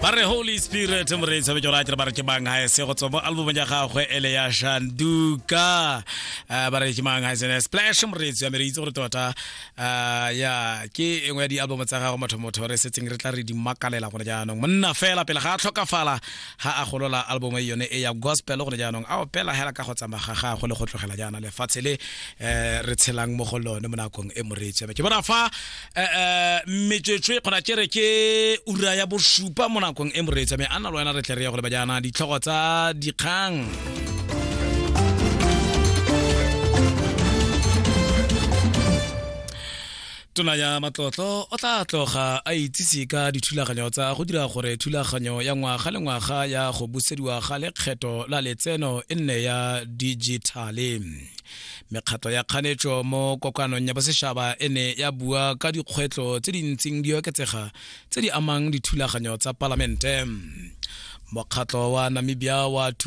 Ba re Holy Spirit, moreetsi wa ke ba re ke mang ga se go tswa mo albumong ya gagwe ele ya Shanduka. Ba re ke mang ga se Splash, moreetsi wa me, re itse gore tota ya ke engwe ya di-album tsa gago motho motho re setseng re tla re di makalela gone jaanong. Monna fela pele ga a tlhokafala ga a golola album e yone e ya gospel gone jaanong, a opela hela ka go tsamaya ga gagwe le go tlogela jaana lefatshe le re tshelang mo go lone mo nakong e. Moreetsi wa me, ke bona fa metswetswe kgona ke re ke ura ya bosupa mo nakong e. Moreetsi me, a nna le wena re tle re ya go leba jaana ditlhogo tsa dikgang. Tona ya matlotlo o tla tloga a itsise ka dithulaganyo tsa go dira gore thulaganyo ya ngwaga le ngwaga ya go busediwa ga lekgetho la letseno e nne ya dijithale. Mekgatlo ya kganetso mo kokoanong ya bosetšhaba e ne ya bua ka dikgwetlho tse di ntseng di oketsega tse di amang dithulaganyo tsa palamente. Mokgatlo wa Namibia wa